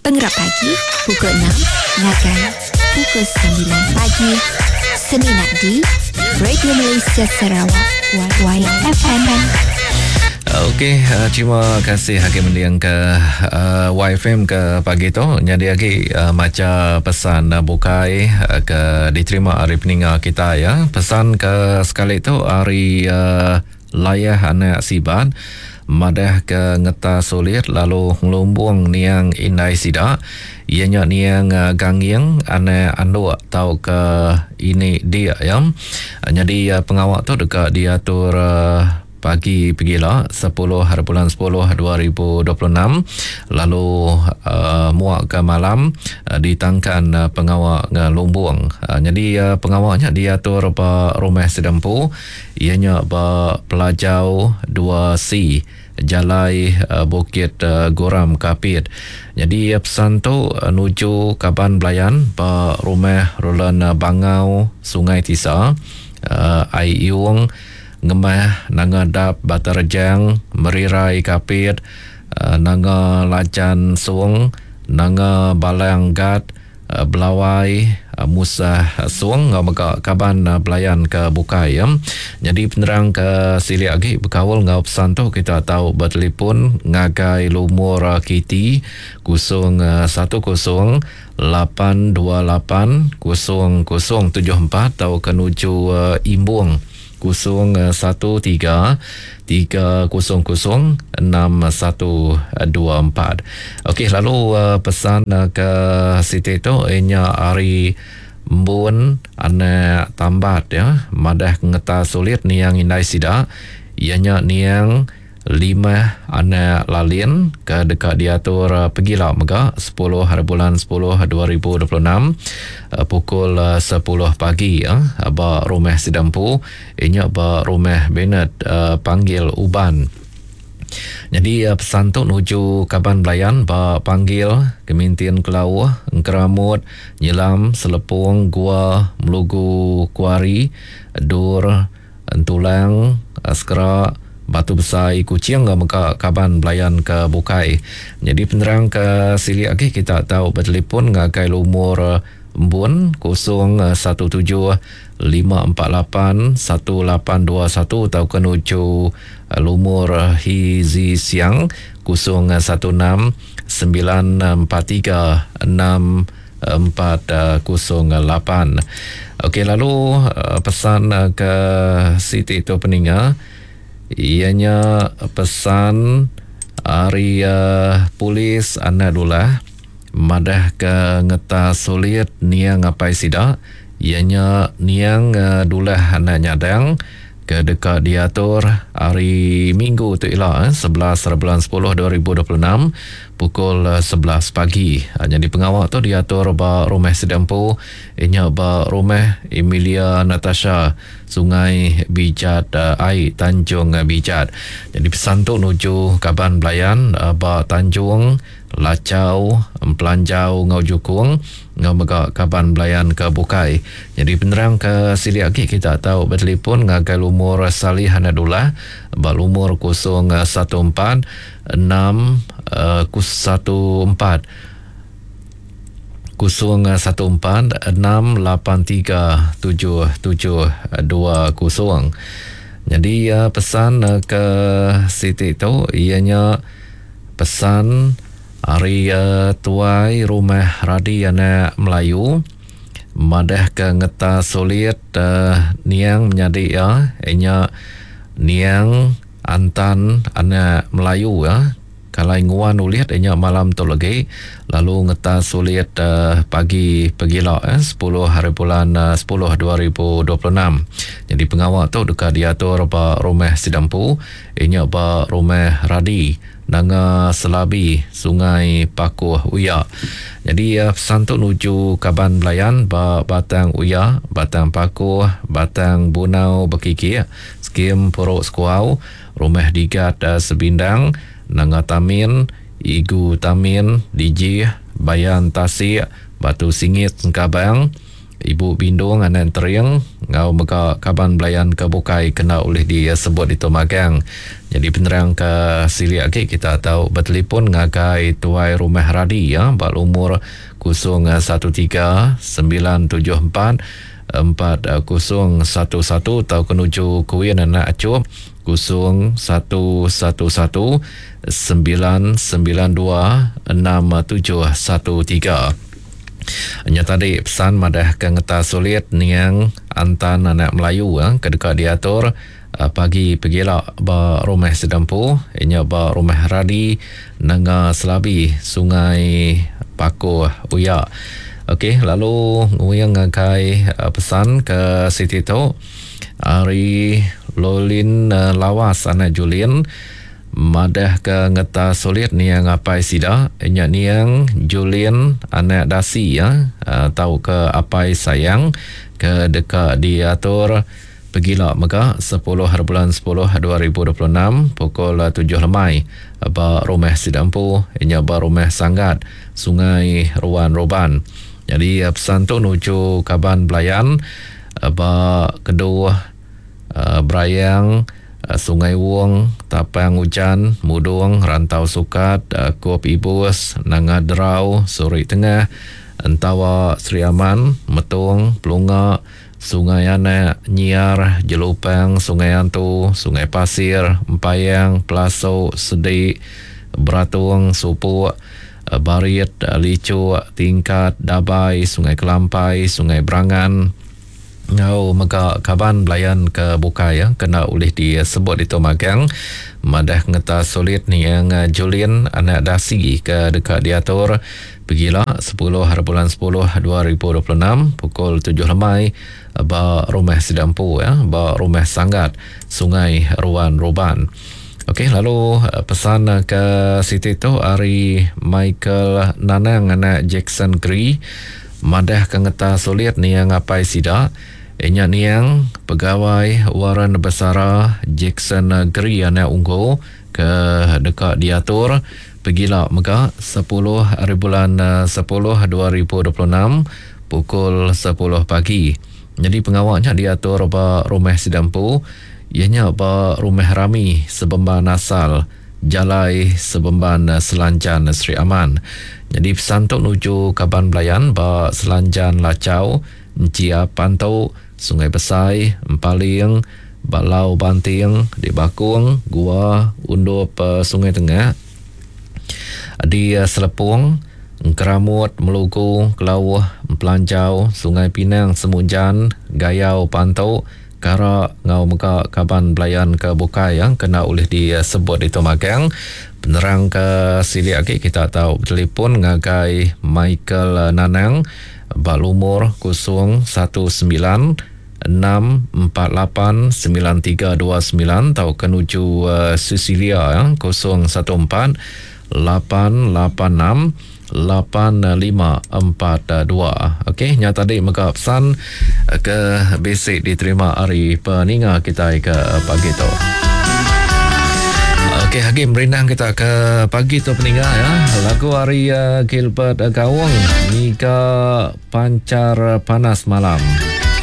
Pengerap pagi pukul 6 ngagai pukul 9 pagi semina di Radio Malaysia Sarawak YFM. Okey, uh, terima kasih agi mending ke uh, YFM ke pagi tu. Nyadi agi uh, macha pesan uh, bukai uh, ke diterima ari peninga kita ya. Pesan ke sekali tu ari uh, Layah anak Sibat madah ke ngeta sulit lalu ngelumbung niang indai sida, iya nya niang Ganging anak Anduk tauka ini dik iya. Nyadi pengawa tu deka diatur pagi pegila sepuluh haribulan sepuluh 2026 lalu muak ke malam ditangkan pengawa ngelumbung. Nyadi pengawa nya diatur ba Rumah Sida Empu. Iya nya ba Pelajau 2C, Jalai Bukit Goram Kapit. Nyadi pesan tu nuju kaban belayan ba Rumah Roland Bangau, Sungai Tisa, Ai Iung, Ngemah, Nanga Dap, Batu Rejang, Merirai Kapit, Nanga Lajan Song, Nanga Balang Gat, Belawai, Musah Song enggau mega kaban belayan ke bukai. Nyadi penerang ke silik agi bekaul enggau pesan tu kita tau betelefon ngagai lumur KT 010 828 0074 tauka nuju Imbong 0 13 3 0 0 6 1 2 4. Okey lalu pesan ke siti tu inya ari Embun anak Tambat ya madah ngeta sulit niang indai sida iya nya niang Limah anak Lalin ke deka diatur pegila mega 10 haribulan 10 2026 pukul 10 pagi ba rumah sida empu inya ba rumah Bernard Panggil Uban. Nyadi pesan tu nuju kaban belayan ba Panggil, Kemintin Kelauh, Engkeramut, Nyelam, Selepong, Gua, Melugu Kuari, Dur, Entulang, Sekera, Batu Besai, Kuching enggau mega kaban belayan ke bukai. Nyadi penerang ke silik agi kita tau betelefon ngagai lumur Embun 017 548 1821 tauka nuju lumur Hee Zi Siang 016 943 6 408. Okey lalu pesan ke siti tu peninga iya nya pesan ari polis anak dulah madah ke ngeta sulit niang apai sida iya nya niang dulah anak nyadang ke deka diatur hari Minggu tu ila 11 bulan 10 2026 pukul 11 pagi. Nyadi pengawa tu diatur ba rumah sida empu iya nya ba rumah Emilia Natasha Sungai Bijat Ai Tanjung Bijat. Nyadi pesan tu nuju kaban belayan ba Tanjung Lachau, Empelanjau enggau Jukung enggau mega kaban belayan ke bukai. Nyadi penerang ke silik agi kita tau betelefon ngagai lumur Salih Anak Dullah ba lumur 014 6 14 014 683 7720. Nyadi pesan ke siti tu iya nya Pesan ari tuai rumah Radi anak Melayu madahka ngeta sulit niang menyadi iya nya niang Antan anak Melayu kalai nguan ulit nya malam tu legi lalu ngeta sulit pagi pegila 10 haribulan 10 2026. Nyadi pengawa tu deka diatur ba rumah sida empu. Iya nya ba Rumah Radi, Nanga Selabi, Sungai Pakuh Uya. Nyadi pesan tu nuju kaban belayan ba Batang Uya, Batang Pakuh, Batang Bunau Bekikik, Skim Puruk Sekuau, Rumah Digat Sebindang, Nanga Tamin, Igu Tamin, Dijih, Bayan Tasik, Batu Singit Sengkabang, Ibu Bindung anak Entering enggau mega kaban belayan ke bukai kena ulih disebut ditu magang. Nyadi penerang ke silik agi kita tau betelefon ngagai Tuai Rumah Radi ya ba lumur 013 974 4011 tauka nuju Kuin anak Achop 0111 992 6713. Nya tadi pesan madah ke ngetas sulit niang Antan anak Melayu ke deka diatur pagi pegila ba Rumah Sedempu nya ba Rumah Radi Nanga Selabi Sungai Pakoh Uya. Okey lalu nguing ngagai pesan ke siti tu ari Lolin Lawas anak Julin madah ke ngetas sulit niang apai sida nya niang Julin anak Dasi tauka apai sayang ke deka diatur Pegila mega, sepuluh haribulan sepuluh 2026, pukul tujuh lemai ba rumah sida empu nya ba Rumah Sanggat, Sungai Ruan Roban. Nyadi pesan tu nuju kaban belayan ba Keduh, Berayang, Sungai Wong, Tapang Ujan, Mudong, Rantau Sukat, Kup Ibus, Nanga Derau, Suri Tengah, Entawa Sri Aman, Metong, Pelunga, Sungai Anak, Nyiar, Jelupang, Sungai Antu, Sungai Pasir, Empayang, Pelasok, Sedik, Beratung, Supuk, Barit, Lichuk, Tingkat, Dabai, Sungai Kelampai, Sungai Berangan enggau mega kaban belayan ke bukai ke enda ulih disebut ditu magang madah ngetas sulit niang Julin anak Dasi ke deka diatur Pegila, sepuluh hari bulan sepuluh 2026, pukul tujuh lemai ba Rumah Sida Empu ya, ba Rumah Sanggat, Sungai Ruan Ruban. Okey, lalu pesan ke siti tu ari Michael Nanang anak Jackson Gree madah ke ngeta sulit niang apai sida inya niang pegawai Warren Besara Jackson Gree anak Unggo ke deka diatur Pegila mega, sepuluh aribulan sepuluh 2026, pukul sepuluh pagi. Nyadi pengawa nya diatur ba rumah sida empu, iya nya ba Rumah Rami Sebemban Asal, Jalai Sebemban Selanjan Sri Aman. Nyadi pesan tu nuju kaban belayan ba Selanjan Lachau, Enchiap Pantu, Sungai Besai, Empaling, Balau Banting di Bakong, Gua, Undup Sungai Tengah, di Selepong, Engkeramut, Melugu, Kelauh, Empelanjau, Sungai Pinang, Semunjan, Gayau Pantu, Kara enggau mega kaban belayan ke bukai ke enda ulih disebut ditu magang. Penerang ke silik agi kita tau betelefon ngagai Michael Nanang ba lumur 019 6489329 tauka nuju Cecilia 014 886 8542. Okey, nya tadi mega pesan ke bisi diterima ari peninga kitai ke pagi tu. Okey, agi merindang kita ke pagi tu peninga ya. Lagu ari Gilbert Gaung, Ngiga Panchar Panas Malam.